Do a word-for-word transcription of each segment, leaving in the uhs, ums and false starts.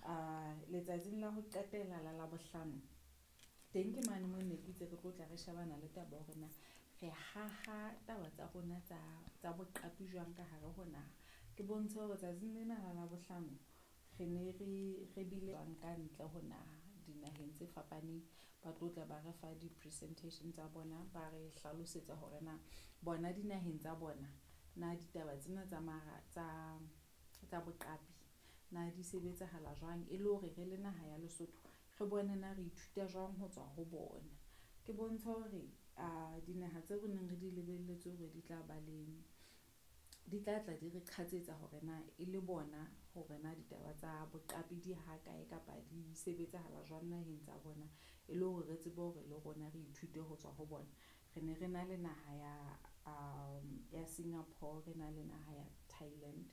Uh, letsatsing la ho qetela la Labohlano teng ke mane mo ne ke itse re tlo tla re shebana le taba hore na re haha taba tsa rona tsa tsa boqapi jwang ka hare ho naha. Ke bontshe hore tsatsing lena la Labohlano re ne re re bile ka ntle ho naha dinaheng tse fapaneng, ba tlo tla ba re fa di-presentation tsa bona, ba re hlalosetsa hore na bona dinaheng tsa bona na ditaba tsena tsa mara tsa tsa boqapi na di sebetsahala jwang, e le hore re le naha ya Lesotho re bone na re ithuta jwang ho tswa ho bona. Ke bontsha hore a dinaha tseo re neng re di lebelletse hore di tla ba le di tla tla di re qhatsetsa hore na e le bona hore na ditaba tsa boqapi di ha kae kapa di sebetsahala jwang naheng tsa bona, e le hore re tsebe hore le rona re ithute ho tswa ho bona. Re ne re na le naha ya um ya Singapore, re na le naha ya Thailand,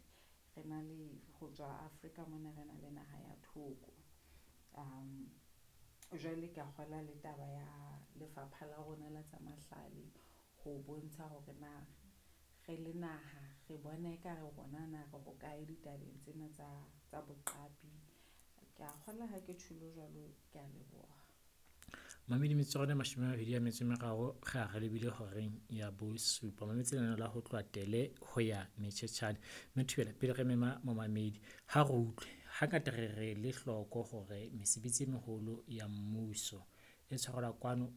re na le ho tswa Afrika mona re na le naha ya Togo. Um jwale ka kgola le taba ya lefapha la rona la tsa mahlale ho bontsha hore na re le naha re bona ekare rona na re hokae ditabeng tsena tsa tsa boqapi. Ke a kgola ha ke tjholo jwalo, ke a leboha. Mamedi metsotso e mashome a mabedi a metso e meraro re a re lebile horeng ya bosupa. Mametse lenaneo la ho tloha tele ho ya metjhetjhane. Mme Thobela pele re mema momamedi ha re utlwe hangata re re le hloko hore mesebetsi e meholo ya mmuso e tshwarelwa kwano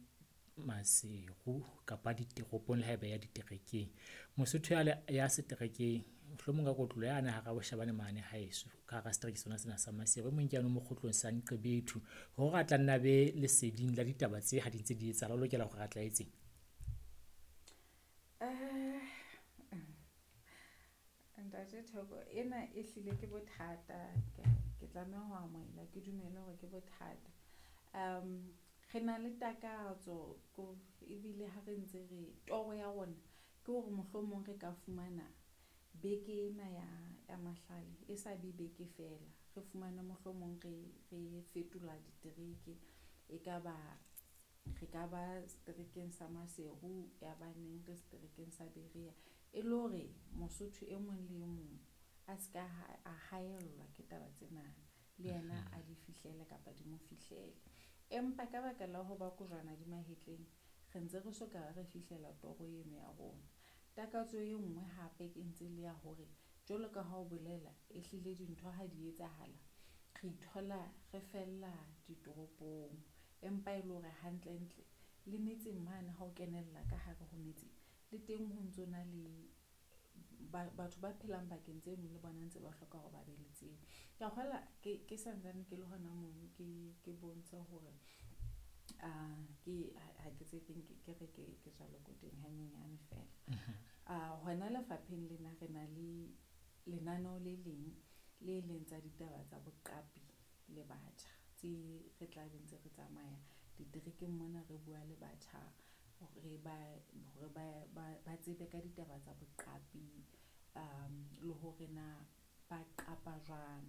Maseru kapa ditoropong le haeba ya diterekeng. Mosotho ya ya seterekeng mohlomong ka kotlo yane hara boshabane mane haeso ka hara setereke sona sena sa Maseru. E mong ke yane mokgotlong sa Nqebethu hore a tla nna be leseding la ditaba tse ha di ntse di etsahala, o lokela hore a tla etseng? Eh, Ntate Thoko, ena e hlile ke bothata, ke ke tlameha ho amohela ke dumele hore ke bothata. Um re na le takatso ko ebile ha re ntse re toro ya rona ke hore mohlomong re ka fumana beke ena ya ya mahlale e sa be beke fela. Re fumane mohlomong re re fetola ditereke, e ka ba re ka ba seterekeng sa Maseru ya ba neng re seterekeng sa Berea. E le hore Mosotho e mong le e mong a ska a haellwa ke taba tsena, le yena a di fihlele kapa di mo fihlele. Empa ka baka la ho ba kojwana di mahetleng, re ntse re soka re fihlela toro eno ya rona. Takatso e nngwe hape ke ntse le ya hore jwalo ka ha o bolela ehlile dintho ha di etsahala, re ithola re fella ditoropong. Empa e le hore hantlentle le metseng mane ha o kenella ka hare ho metse le teng ho ntso na le ba batho ba phelang bakeng tseno le bona ntse ba hloka hore ba be le tsebo. Ke a kgola ke ke santsane ke le hona mono ke ke bontshe hore ah ke ha ke tse ke ke re ke ke tswa lekoteng hanyenyane feela. Ah hona lefapheng lena re na le lenaneo le leng le leng tsa ditaba tsa boqapi le batjha tse re tla be ntse re tsamaya diterekeng mona re bua le batjha hore ba hore ba ba ba tsebe ka ditaba tsa boqapi um le hore na ba qapa jwang.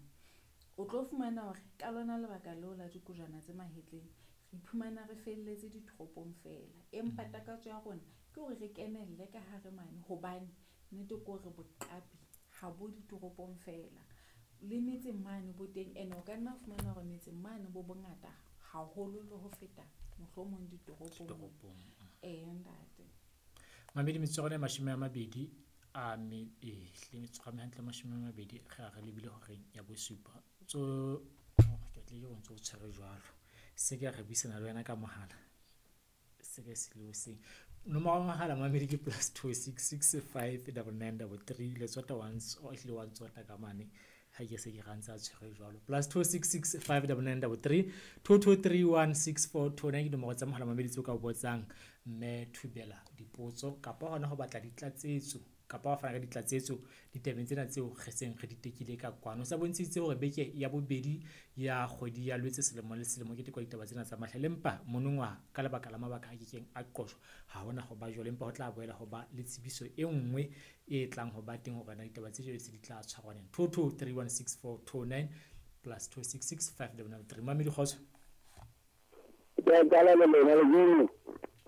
O tlo fumana hore ka lona lebaka leo la dikojwana tse mahetleng re iphumana re felletse ditoropong feela. Empa takatso ya rona ke hore re kenelle ka hare mane hobane nnete ke hore boqapi ha bo ditoropong feela. Le metseng mane bo teng ene o ka nna fumana hore metseng mane bo bongata haholo le ho feta mohlomong ditoropong. Ditoropong. Eh ntate. Mamedi metsotso e mashome a mabedi a me e hle metsotso e hantle mashome a mabedi re a re lebile horeng ya bosupa. Tso ke tle ke o ntso o tshwere jwalo. Se ke re buisana le wena ka mohala. Se ke se le seng. Nomoro ya mohala mamedi ke plus two six six five double nine double three le tsota once o hlile wa ntsota ka mane ha ke se ke rantse a tshwere jwalo. Plus two six six five double nine double three two two three one six four two nine ke nomoro tsa mohala mamedi tseo ka o botsang mme Thobela dipotso kapa hona ho batla ditlatsetso kapa wa fana ka ditlatsetso ditabeng tsena tseo re seng re di tekile ka kwano. O sa bontshitse hore beke ya bobedi ya kgwedi ya Lwetse selemo le selemo ke tekwa ditaba tsena tsa mahlale, empa monongwaha ka lebaka la mabaka a kekeng a qojwa ha hona ho ba jwalo, empa ho tla boela ho ba le tsebiso e nngwe e tlang ho ba teng hore na ditaba tse jwalo se di tla tshwarwa neng. two two three one six four two nine plus two six six five double nine three. Mamedi kgotso. Ke a qala le lona le jeno.